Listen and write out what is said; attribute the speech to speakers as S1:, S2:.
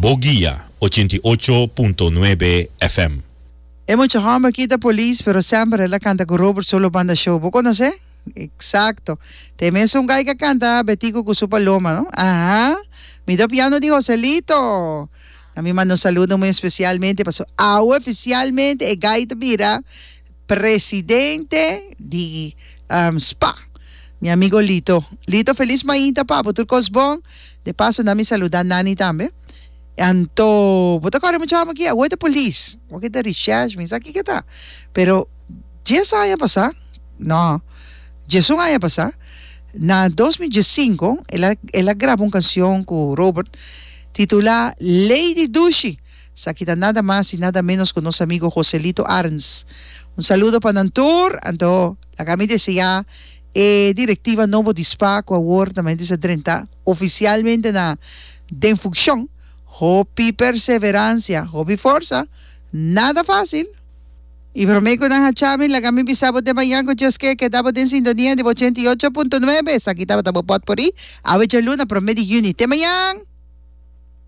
S1: Bo Guia 88.9 FM.
S2: E mucha homber aki ta polis pero semper el a canta cu Robert Solo Banda Show. Bo conoce? Exacto. Ta e mesun guy cu a canta Betico cu su paloma, no? Aha. Mi ta piano di Joselito. Na mi manda un saludo muy especialmente paso awe oficialmente e guy ta bira presidente di spa. Mi amigo Lito. Lito feliz mainta pa bo tur cos bon. De paso na mi saluda Nani tambe. Anto bo ta kore mucha hòmber aki awor ta polis awor ki ta recherche mi sa kiko ta pero dies aña pasá no diesun aña pasá na dos mil diesinko el a el a graba un kanshon ku Robert titulá Lady Dushi esaki ta nada mas i nada menos ku nos amigo Joselito Arends un saludo pa nan tur anto laga mi deseá e direktiva nobo di spa ku awor ta mester a drenta ofisialmente na den funkshon, hopi perseveransia, hopi forsa, nada fásil. I promé ku nan hacha mi, laga mi bisa bo te mañan ku Dios ke, keda bo den sintonia di bo 88.9, esaki tabata bo pòtpori, awe djaluna promé di yüni. Te mañan!